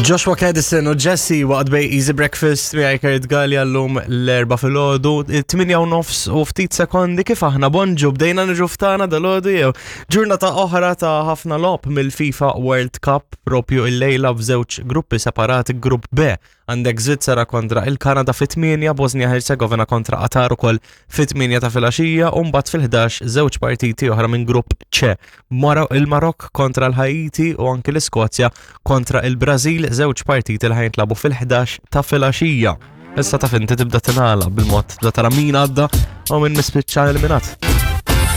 Joshua Kadison u Jesse waqt bej Easy Breakfast miegħi Kurt Gallia llum l-erba' filgħodu, 8 u nofs u ftit sekondi kif aħna bonġu bdejna niġu ftana dal-għodu jew ġurnata oħra ta' ħafna logħob mill-FIFA World Cup propju il-lejla f'żewġ gruppi separati grupp B Għandek Żvizzera kontra il-Kanada fit-8, Bosnia Herzegovina kontra Qatar ukoll fit-8 ta' filgħaxija u mbagħad fil-11 żewġ partiti oħra minn grupp C. Il-Marokk kontra l-Ħaiti u anki l-Iskozja kontra il-Brażil, żewġ partiti li ħajintlabu fil-11 ta' filgħaxija. Issa taf inti tibda tingħala bil-mod tibda tara min għadda u min mispiċċa eliminat.